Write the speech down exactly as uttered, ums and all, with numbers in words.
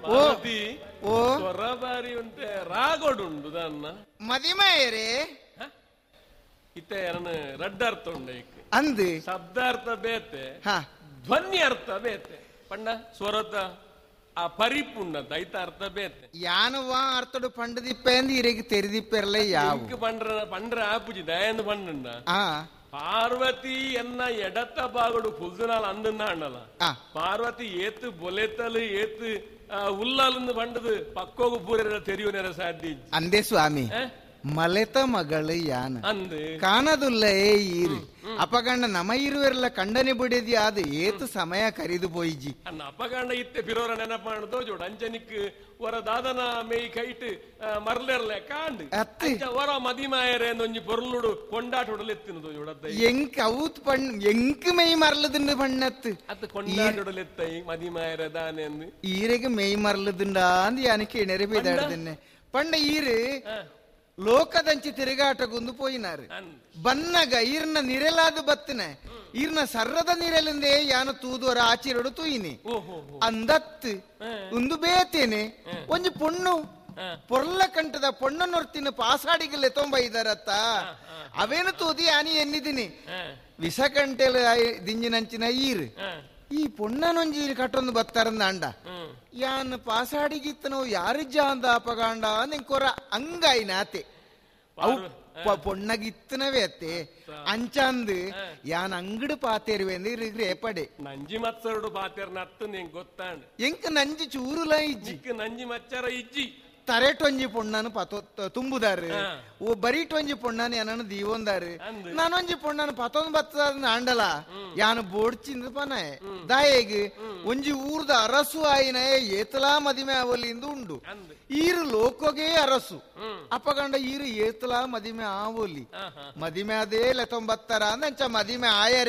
ಪಾರ್ವತಿ ಓ ಸ್ವರ ಬಾರಿ ಉಂಟೆ ರಾಗೋಡುಂಡು ದಾನ್ನ ಮದಿಮಾಯರೇ ಇತ್ತೆ ಎರನ ರಡ್ಡರ್ಥ ಉಂಡ ಇಕ್ ಅಂದ್ ಶಬ್ದಾರ್ಥ ಬೇತೆ ಹಾ ಧ್ವನಿ ಅರ್ಥ ಬೇತೆ ಪಂಡ ಸ್ವರತ ಆ ಪರಿಪುಂಡ ದೈತ ಅರ್ಥ ಬೇತೆ ಯಾನವ ಅರ್ಥಡು ಪಂಡದಿಪ್ಪೆ ಅಂದ್ ಇರೆಗ್ ತೆರಿದಿಪ್ಪೆರ್ಲೆ ಯಾವು ಇಂಕ್ ಪಂಡ್ರ ಪಂಡ್ರ ಆಪುಜಿ ದಯಂದು ಪಂಡಂಡ ಆ ಪಾರ್ವತಿ ಎನ್ನ ಎಡತ್ತ ಬಾಗುಡು ಕುಲ್ದುನಾಲ್ ಅಂದನ್ನ ಅಣ್ಣಲ ಆ ಪಾರ್ವತಿ ಏತು ಬೊಲೆತಲು ಏತು ಉಲ್ಲಾಲಂದು ಪಂಡದು ಪಕ್ಕೋಗು ಪೂರೆರ ತೆರಿಯುನೆರ ಸಾಧ್ಯ ಇಜ್ಜಿ. ಅಂದೇ ಸ್ವಾಮಿ ಏ? ಮಲೆತ ಮಗಳು ಯಾನ ಅಂದ್ ಕಾಣದುಲ್ಲ ಏ ಈರು ಅಪಗಂಡ ನಮ ಇರುವೆರ್ಲ ಕಂಡನೆ ಬಿಡದಿ ಆದ ಏತು ಸಮಯ ಕರಿದು ಪೋಯಿಜಿ ಅನ್ನ ಅಪಗಂಡ ಇತ್ತೆ ಬಿರೋರ ನೆನಪಾಣ ತೋಜೋಡು ಅಂಚನಿಕ್ ವರ ದಾದನ ಮೇಯ್ ಕೈಟ್ ಮರ್ಲೆರ್ಲೆ ಕಾಂಡ್ ಅತ್ತೆ. ಅಂಚ ವರ ಮದಿಮಾಯರೆ ಒಂಜಿ ಪೊರ್ಲುಡು ಕೊಂಡಾಟುಡಲೆತ್ತಿನ ತೋಜೋಡು ಅತ್ತ ಎಂಕ್ ಅವೂತ್ ಪಣ್ ಎಂಕ್ ಮೆಯ್ ಮರ್ಲದುಂಡು ಪಣ್ಣತ್ತು ಅತ್ತ ಕೊಂಡಾಟುಡಲೆತ್ತೈ ಮದಿಮಾಯರೆ ದಾನೆ ಅಂದ್ ಈರೆಗ್ ಮೆಯ್ ಮರ್ಲದುಂಡ ಅಂದ್ ಯಾನಕ್ಕೆ ಎಣೆರೆ ಬೇದಾಡ್ದನ್ನೆ ಪಂಡ ಈರು ಲೋಕದಂಚಿ ತಿರುಗಾಟಗೊಂದು ಪೋಯಿನಾರು ಅಂದ್ ಬನ್ನಗ ಈರ್ನ ನಿರೆಲಾದ ಬತ್ತನೆ ಈರ್ನ ಸರ್ರದ ನಿರೆಲಿಂದೇ ಯಾನ ತೂದುವರ ಆಚಿರಡು ತೂಯಿನಿ ಓಹೋ ಅಂದತ್ತು ಉಂದು ಬೇತೇನೆ ಒಂಜಿ ಪೊಣ್ಣು ಪೊರ್ಲ ಕಂಠದ ಪೊಣ್ಣನೊರ್ತಿನ ಪಾಸಾಡಿಗಲ್ಲೆ ತೊಂಬ ಇದಾರತ್ತ ಅವೇನು ತೂದಿ ಆನಿ ಎನ್ನಿದ್ದೀನಿ ವಿಷಕಂಟೆಲ ದಿಂಜಿನಂಚಿನ ಈರು ಈ ಪೊಣ್ಣನೊಂಜಿ ಕಟ್ಟೊಂದು ಬತ್ತಾರಂದ ಅಂಡ ಯಾನ್ ಪಾಸಾಡಿಗಿತ್ತನೋ ಯಾರಿಜ್ಜ ಅಂದ ಅಪಗಾಂಡ ನಿಂಕೊರ ಅಂಗಾಯಿನಾತೆ ಅವು ಪ- ಪೊಣ್ಣಗಿತ್ತನವೇ ಅತ್ತೆ ಅಂಚಂದು ಯಾನ್ ಅಂಗಡು ಪಾತೇರುವೆಂದು ಇರು ಪಡೆ ನಂಜಿ ಮತ್ಸರುಡು ಪಾತೆರ್ನ ಅತ್ತು ನಿಂಗ್ ಗೊತ್ತಾಂಡ್ ಎಂಕ್ ನಂಜಿ ಚೂರುಲ ಇಜ್ಜಿ ನಿಕ್ ನಂಜಿ ಮಚ್ಚರ ಇಜ್ಜಿ ತರೆಟೊಂಜಿ ಪೊಣ್ಣನು ಪತೊ ತುಂಬುದಾರು ಹಾ. ಓ ಬರೀಟೊಂಜಿ ಪೊಣ್ಣನು ಏನನು ದೀವೊಂದಾರು ಅಂದ್. ನಾನೊಂಜಿ ಪೊಣ್ಣನು ಪತೊಂದು ಬತ್ತದ ಆಂಡಲ ಯಾನು ಬೋಡ್ಚಿಂದ ಪನ ದಾಯೆಗ್ ಒಂಜಿ ಊರ್ದ ಅರಸು ಆಯಿನ ಏತಲಾ ಮದಿಮೆ ಆವಲಿಂದು ಉಂಡು ಅಂದ್. ಈರು ಲೋಕೋಗೆ ಅರಸು ಅಪಗಂಡ ಈರು ಏತಲಾ ಮದಿಮೆ ಆವೊಲಿ ಆಹಾ. ಮದಿಮೆ ಅದೇ ಲೆತೊಂಬತ್ತರ ಅಂಚ ಮದಿಮೆ ಆಯರೆ.